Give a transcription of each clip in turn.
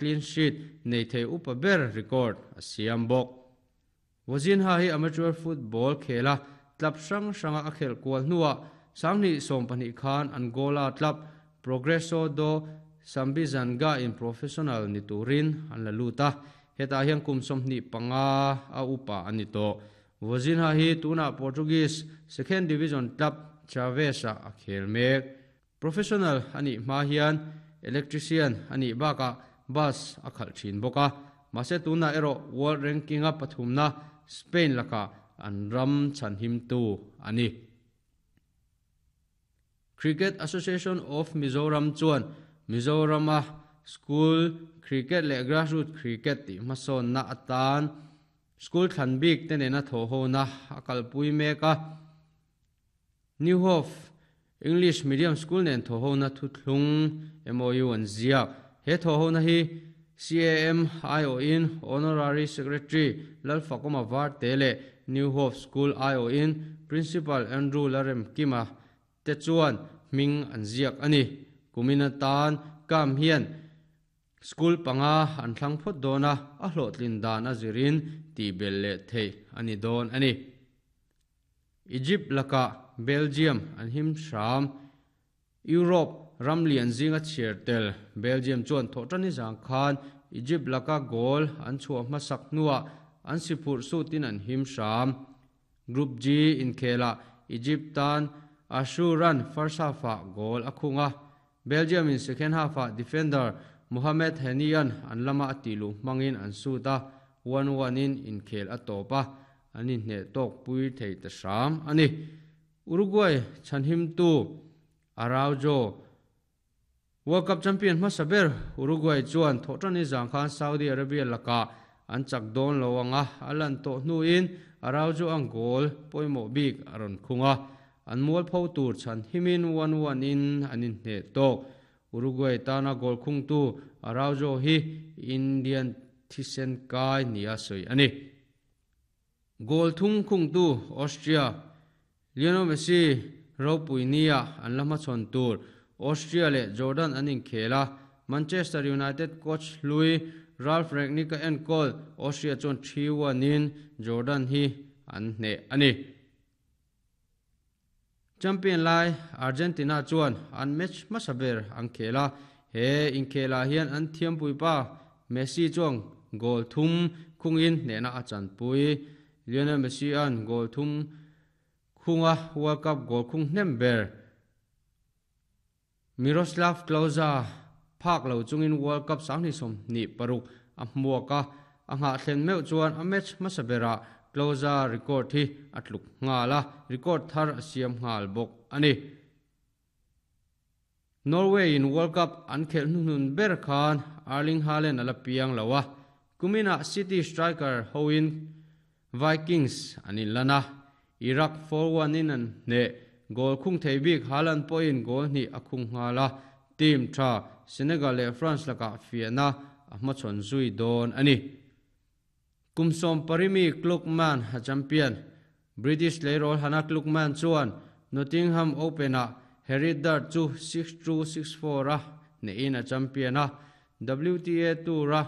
clean sheet nei thei upa ber record a siam bawk. Vozinha hi amateur football khela club hrang hranga a khelh kual hnuah 2012 khan Angola club Progresso do Sambizanga in professional ni turin an la lut a, hetah hian kum 25 a upa a ni tawh. Vozinha hi tunah Portuguese second division club Chaves-ah a khel mek. Professional a nih hma hian electrician a nih bakah bus a khalh thin bawk a, mahse tunah erawh world ranking-a pathumna Spain lakah an ram chhanhimtu a ni. Cricket Association of Mizoram chuan Mizorama school cricket leh grassroots cricket tih hmasawnna atan school thlan bik te nena thawhhona a kalpui mek a. New Hope English Medium School nen thawhhona thuthlung MOU an ziak. He thawhhona hi CAM aiawhin Honorary Secretary Lalfakawma Varte leh New Hope School aiawhin Principal Andrew Laremkima te chuan hming an ziak a ni. Kumin atan CAM hian School panga an thlang phawt dawn a, a hlawhtlin dan a zirin tihbelh leh theih a ni dawn a ni. Egypt lakah Belgium an him hram. Europe ram lian zinga chhiar tel Belgium chuan thawhṭani zang khan Egypt laka goal an chhuah hmasak hnuah an si phurh sutin an him hram. Group G inkhelah Egypt tan Ashuran first half-ah goal a khung a, Belgium in second half-ah defender Mohamed Henian an lama a tih luh hmangin an sut a, 1-1 in inkhel a tawp a, an inhneh tawk pui thei ta hram a ni. Uruguay chhanhimtu Araujo, World Cup champion hmasa ber Uruguay chuan thawhṭani zang khan Saudi Arabia lakah an chak dawn lo ang a, a lan tawh hnuin Araujo ang goal pawimawh bik a rawn khung a. An mualpho tur chhan himin 1-1 in an inhneh tawk. Uruguay tana goal khungtu Araujo hi Indian thisen kai nia sawi a ni. Goal thung khungtu Austria Lionel Messi ropui nia an la hmachhawn tur Austria leh Jordan an inkhel a, Manchester United coach hlui Ralf Rangnick a enkawl Austria chuan 3-1 in Jordan hi an hneh a ni. Champion lai Argentina chuan an match hmasa ber an khel a, he inkhelah hian an thiampuipa Messi chuan goal thum khungin hnehna a chanpui. Lionel Messi-a'n goal thum khunga World Cup goal khung hnem ber Miroslav Klose phak lo chungin World Cup 2026 a hmuak a, a nghahthlen meuh chuan a match hmasa berah Klose record hi a tluk nghal a, record thar a siam nghal bawk a ni. Norway in World Cup an khelh hnuhnun ber khan Erling Haaland a la piang lo a, kuminah City striker hoin Vikings an inlan a, Iraq 4-1 in an hneh. Goal khung thei bik Haaland pawhin goal hnih a khung nghal a, team tha Senegal leh France lakah fiahna a hmachhawn zui dawn a ni. Kum 18 mi Klugman a champion. British tleirawl Hannah Klugman chuan Nottingham Open-ah Harry Dart chu 6-2, 6-4 a hnehin a champion a, WTA Tour-a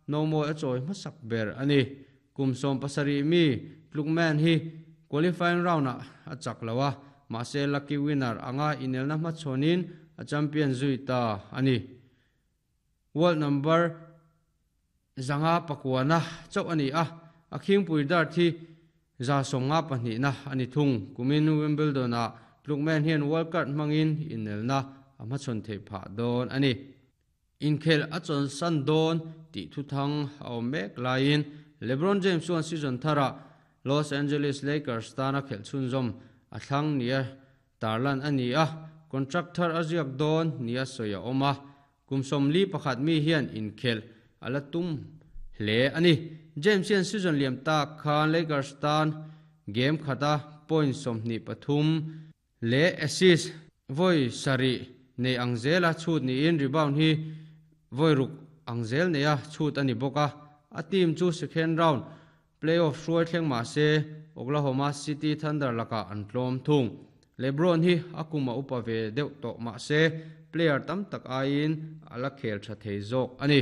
nomawi a chawi hmasak ber a ni. Kum 17 mi Klugman hi qualifying round-ah a chak lo a, mahse lucky winner anga inelna hmachhawnin a champion zui ta a ni. World number 509 chauh a ni a, a khingpui dart hi 152na a ni thung. Kumin Wimbledon-ah Klugman hian World Card hmangin inelna a hmachhawn theih phah dawn a ni. Inkhelh a chawnsan dawn tih thuthang a awm mek laiin LeBron James chuan season tharah Los Angeles Lakers tana khelh chhunzawm a thlang nia tarlan a ni a, contract thar a ziak dawn nia sawi a awm a, kum 41 mi hian inkhelh a la tum hle a ni. James hian season liam tak khan Lakers tan game khata point 23 leh assist vawi sarih nei ang zela chhut niin rebound hi vawi ruk ang zel neia chhut a ni bawk a. A team chu second round playoff hruai thleng mah se Oklahoma City Thunder lakah an tlawm thung. LeBron hi a kum a upa ve deuh tawh mah se player tam tak aiin a la khel tha thei zawk a ni.